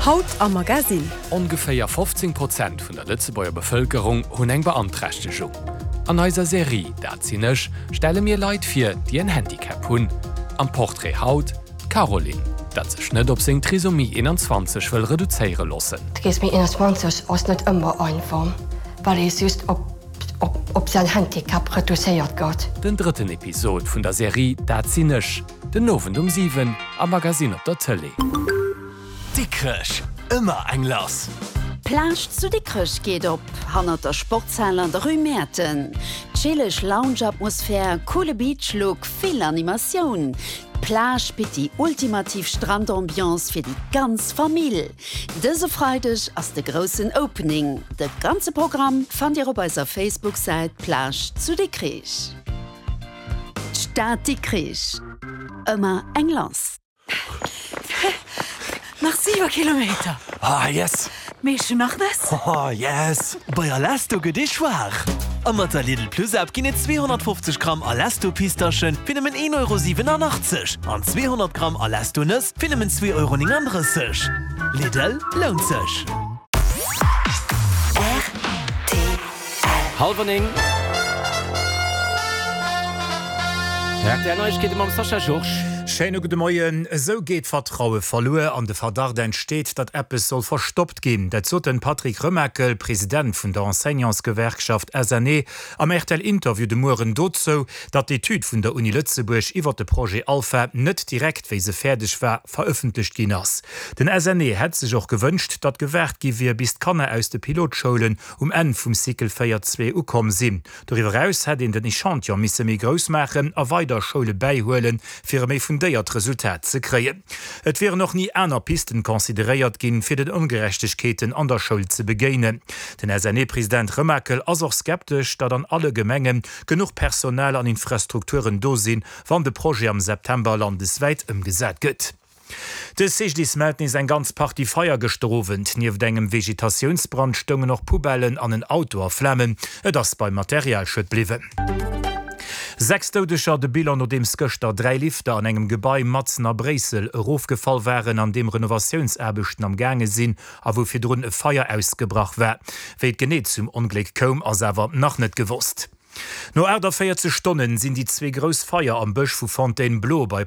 Haut am Magasinn. Ongeféier 15 Prozent vun der Lëtzebuerger Bevëlkerung hunn eng Beanträchtegung. An eiser Serie Dat sinn ech stelle mir Leit vir, déi en Handicap hunn. Am Portrait haut d'Caroline, dat sech net op seng Trisomie 21 wëll reduzéiere loossen. Trisomie 21 ass net ëmmer einfach, well ee just op op säin Handicap reduzéiert gëtt. Den drëtten Episod vun der Serie Dat sinn ech, den Owend um 7 am Magasinn op der Tëlee. Dikrech, ëmmer eng lass! D'Plage zu Dikrech geet op, hannert der Sportshal an der Rue Mäerten. Chilleg Lounge-Atmosphär, coole Beach-Look, vill Animatioun. D'Plage bitt déi ultimativ Strandambiance fir déi ganz Famill. Dëse Freideg ass de groussen Opening. De ganze Programm fannt Dir op eiser Facebook-Säit Plage zu Dikrich. D'Stad Dikrich, ëmmer eng lass! Nach 7 Kilometer! Ah yes! Mee ech hun nach Nëss! Oh yes! Bei Alesto gëtt ee schwaach! A mat der Lidl Plus App ginn et 250 Gramm Alesto Pistaschen fir nëmmen 1,87 Euro an 200 Gramm Alesto Nëss fir nëmmen 2,39 Euro. Lidl, lount sech! Hallwer 9. Rtl Neiegkeete mam Sascha Georges. Schéine gudde Moien. Esou geet d'Vertraue verluer an de Verdacht entsteet, datt eppes soll verstoppt ginn. Dat sot den Patrick Remakel, President vun der Enseignantsgewerkschaft SNE, am RTL-Interview de Mueren dozou, datt d'Etüd vun der Uni Lëtzebuerg iwwer de Projet Alpha net direkt, wéi se fäerdeg war, verëffentlecht ginn ass. Den SNE hätt sech och gewënscht, datt gewaart gi wier, bis d'Kanner aus de Pilotschoulen um Enn vum Cycle 4 zwee ukomm sinn. Doriwwer eraus hätt een den Echantillon misse méi grouss maachen a weider Schoule bäihuelen, fir e méi fundéiert Resultat ze kréien. Et wieren och ni aner Pisten consideréiert ginn, fir den Ongerechtegkeeten an der Schoul ze begéinen. Den SNE-President Remakel ass och skeptesch, datt an alle Gemenge genuch Personal an Infrastrukturen do sinn, wann de Projet am September landeswäit ëmgesat gëtt. De CGDIS mellt nees eng ganz Partie Feier gëschter Owend. Nieft engem Vegetatiounsbrand stoungen och Poubellen an en Auto a Flamen. Et ass beim Materialschued bliwwen. 6 Doudeger, de Bilan nodeems gëschter 3 Lifter an engem Gebai matzen a Bréissel erofgefall waren, an deem Renovatiounsaarbechten am gaange sinn a wou virdrun e Feier ausgebrach war. Wéi et genee zum Ongléck koum, ass awer nach net gewosst. No 48 Stonnen sinn déi zwee grouss Feier am Bësch vu Fontainebleau bei.